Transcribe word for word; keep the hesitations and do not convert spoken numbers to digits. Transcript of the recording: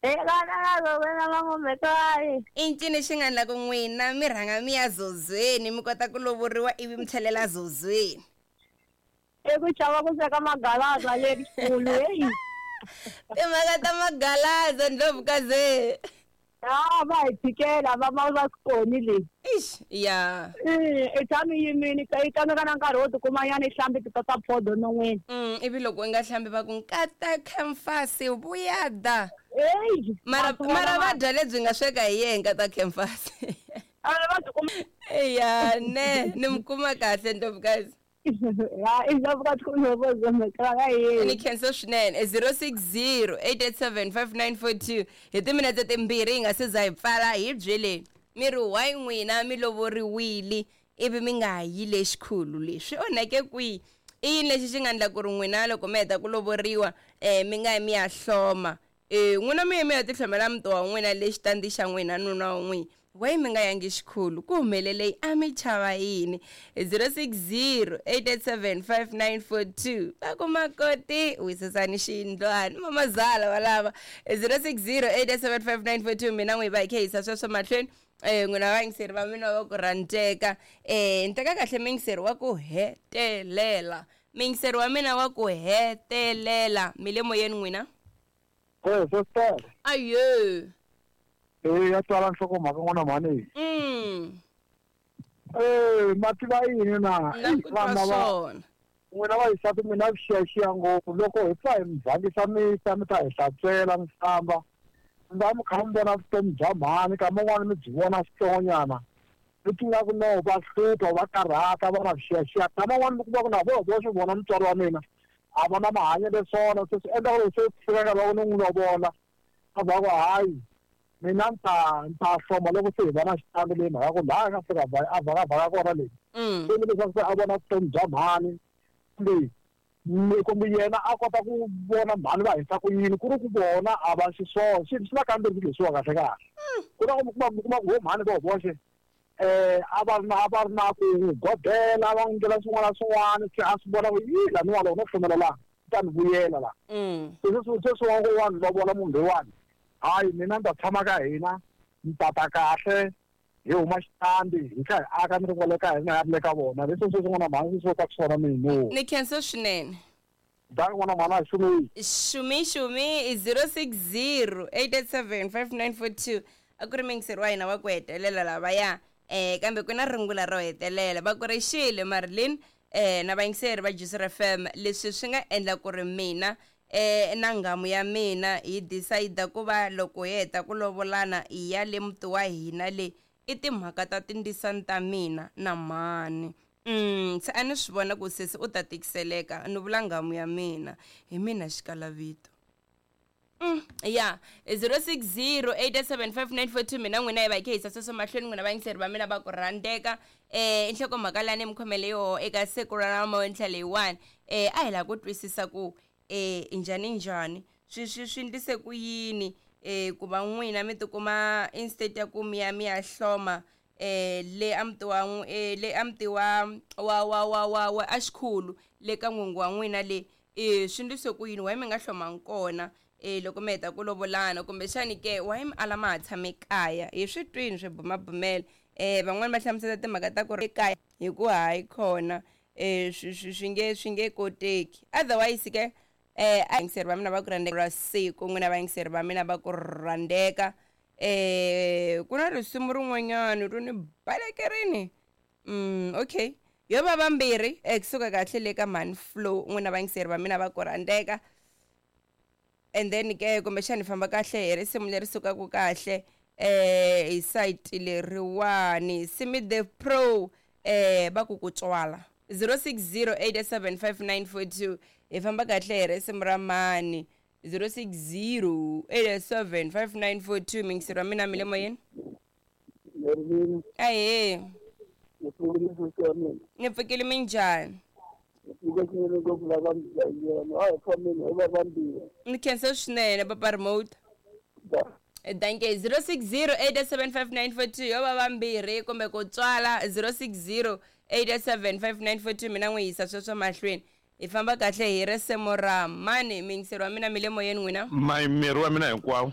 I ncini xi nga endla ku n'wina mi rhanga mi ya zozweni mi kota ku lovoriwa ivi mi tlhelela zozweni? I ku chava ku sweka magalaza lexikulu heyi. Timhaka ta magalaza ndlovukazi. A va hi tshikela va va va swi koni leyi. Ix ya. I tshami yimini i tsandzeka na nkarhi wo tikuma nyana i hlambi ti tota phodo non'wini. Mm, ivi loko u nga hlambi va ku nkata khemfasi vuya da. Eyi. Mara mara va dya lebyi nga sweka hi yena nkata khemfasi. A va byi kuma. Ya ne ni mi kuma kahle ndlovukazi. Ya i ndlovukazi kumbe Ni khensa swinene zero six zero eight eight seven five nine four two hi timinetse timbirhi hi nga se za hi pfala hi byeleni mi ri why n'wina mi lovoriwile ivi mi nga yi lexikhulu leswi onhake kwihi i yini lexi xi nga endla ku ri n'wina loko mi heta ku lovoriwa um mi nga yi mi ya hloma um n'wina mi ye mi ya tihlomela muti wa n'wina lexitandi xa n'wina nuna wa n'wina why mi nga yangi xikhulu ku humelele a mi chava yini zero six zero eight eight seven five nine four two va ku makoti wisisani xiyindlwana mamazala valava zero six zero eight eight seven five nine four two mina n'wi va hi kha hisa sweswo mahlweni um n'wina vayingiseri va mina va ku rhandzeka um ni teka kahle muyingiseri wa ku hetelela muyingiseri wa mina wa ku hetelela mi le moyeni n'wina Eh, sister. ayo Eh, ya twala nhlokomhaka n'wana mhani. mm Eh, ma tiva yini na? na ku twa Vana va swona n'wina vayisati mi na vuxiyaxiya ngopfu loko hi pfa hi mi vhangisa misa mi ta hi hlantswela mi famba mi va mi kha mi vona vutomi bya mhani kama un'wana mi byi vona switsongonyana mi ti nga ku no va hlupha va karhata va na vuxiyaxiya kama un'wana mi kuma ku na voho voxe vona mutswari wa mina a va na mahanyelo swona se swi endla ku ri se fika nkarhi wa ku ni n'wi lovola a va ku hayi mina ni ta ni ta hloma loko se hi va na xitandi leyi mhaka ku laha a nga fika a vhakavhaka kona leyi mm se ni leswaku se a vona vutomi bya mhani kumbe kumbe yena a kota ku vona mhani va hisa ku yini ku ri ku vona a va xiswona swi swi na kambirhi leswiwa kahle kahle ku na ku kuma ku kuma ku vo mhani vo voxe eh a va ri na a va ri na ku n'wi godela va n'wi endlela swin'wana na swin'wana se a swi vona ku yi laniwa loko no hlomela laha ta ni vuyela laha mm se sweswi sweswi wa ngo wa ni lovola munhu loyiwani hayi mina ni ta tshama ka hina ni tata kahle hi huma xitandi hi kha hi aka ni ri kwale ka hina ya ri le ka vona leswi sweswi n'wana mhani swi ka swona mina ni khensa swinene dangi n'wana mhani a xumi xumi xumi zero six zero eight eight seven five nine four two a ku ri muyingiseri wa hina wa ku hetelela lavaya um kambe ku na rungula ro hetelela va ku ri xile marilyn um na vayingiseri va Juice F M leswi swi nga endla ku ri mina um na nghamu ya mina hi decide ku va loko hi heta ku lovolana hi ya le muti wa hina le i timhaka ta tindzisani ta mina na mhani mm se a ni swi vona ku sesi u ta tikiseleka ni vula nghamu ya mina hi mina xikalavito Mm, ya zero six zero eight seven five nine four two mina n'wina hi va hi kha hisa sweswo mahlweni n'wina vayingiseri va mina va ku rhandzeka um i nhlokomhaka leyi ni mi khomele yoho eka siku ra namuntlha leyiwani um a hi lava ku twisisa ku um njhani njhani swi swi swi ndlise ku yini um ku va n'wina mi tikuma instead ya ku mi ya mi ya hloma eh le a muti wa eh le a muti wa wa wa wa wa wa a xikhulu le ka n'wingi wa n'wina le eh swi ndlise ku yini why mi nga hlomangi kona eh loko mi heta ku lovolana kumbexani ke why mi ala ma ha tshame kaya hi swi twini swi bumabumela eh van'wani va hlamusela timhaka ta ku ri ekaya hi ku hayi khona eh swi swi swi nge swi nge koteki otherwise ke eh a yingiseri va mina va ku rhandzeka ra siku n'wina vayingiseri va mina va ku rhandzeka eh ku na risimu rin'wanyana ro ni balekerini mm okay yo va vambirhi eh kusuka kahle le ka mhani flow n'wina vayingiseri va mina va ku rhandzeka and then ke kumbexani hi famba kahle hi risimu leri sukaka kahle eh hi site leriwani simi the pro eh va ku ku tswala zero six zero eight seven five nine four two hi famba kahle hi risimu ra mani zero six zero eight seven five nine four two miyingiseri wa mina mi le moyeni ahee ni pfukile minjhani ni khensa swinene papa remote danke zero six zero eight seven five nine four two yo va vambirhi kumbe ku tswala zero six zero eight seven five nine four two mina n'wi yisa sweswo mahlweni hi famba kahle hi risimu ra mani miyingiseri wa mina mi le moyeni n'wina mayimeri wa mina hinkwawo.